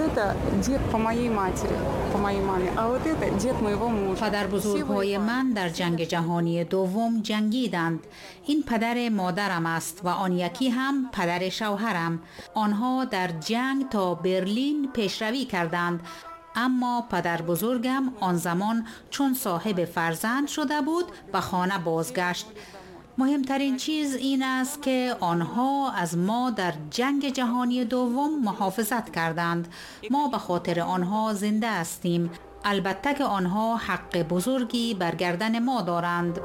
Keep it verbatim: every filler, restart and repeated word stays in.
это дед по моей матери, по моей маме, а вот это дед моего мужа. پدر بزرگهای من در جنگ جهانی دوم جنگیدند. این پدر مادرم است و آن یکی هم پدر شوهرم. آنها در جنگ تا برلین پیشروی کردند. اما پدر بزرگم آن زمان چون صاحب فرزند شده بود به خانه بازگشت. مهمترین چیز این است که آنها از ما در جنگ جهانی دوم محافظت کردند. ما به خاطر آنها زنده هستیم. البته که آنها حق بزرگی بر گردن ما دارند.